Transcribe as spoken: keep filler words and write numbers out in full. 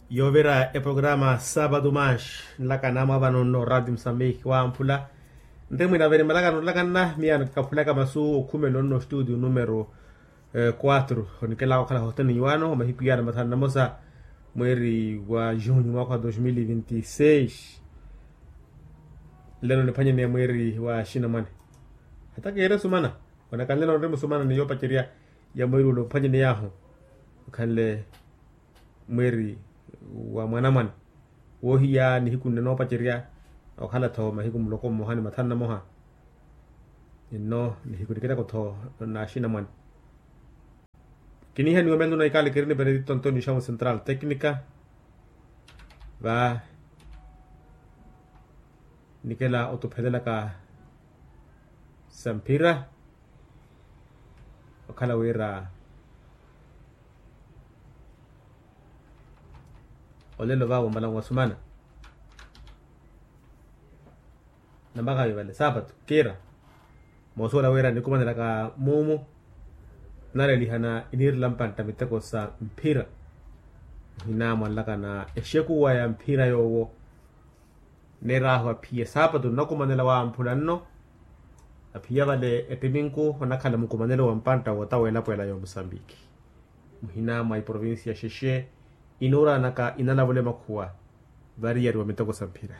Yoovira eprograma saapatu manshi nlaka naamwa vano nno radio msambihi wamphula. Nte mwina vene malaka nolakanna miya nikaphulaka masu okhumela onno studio numero quatro onikelaka okhala hoteni iwaano omahiku yaana mathanu namosa mweeri wa junho mwaka wa dos mil e vinte e seis. Nlelo niphwanyeneya mweeri wa xinamwane. Hata keere sumana. Onaka nlelo nri musumana ni yoopacerya ya mweeri ule ophwanyeney'ahu okhanle mweeri wa mwanamwane. Woohiya nihiku nne noopacerya okhala-tho mahiku muloko mmoha ni mathanu namoha. Nno nihiku nikitako-tho na axinamwane. Kiniihaniwa myandu na ikali kiri ni benedito antonio xamu central tecnica. Va nikela otuphelelaka sa mphira okhala wira olelo vawo mala nwasumana. Nampakha yo vale saapatu kiira moosuwela wira nikumanelaka muumu. Nalelihana iniirela mpantta miteko sa mphira ohinamwanlaka na exekuwa ya mphira yoowo. Neer'ahu aphiya saapatu nnakumanela wamphula nno. Aphiya vale ettiminku onakhala mukumanelo wa mpantta wootaweela pweela ya omusambiki muhina mwa iprovincia xexe inuuranaka inalavule makhuwa. Variyariwa miteko sa mphira.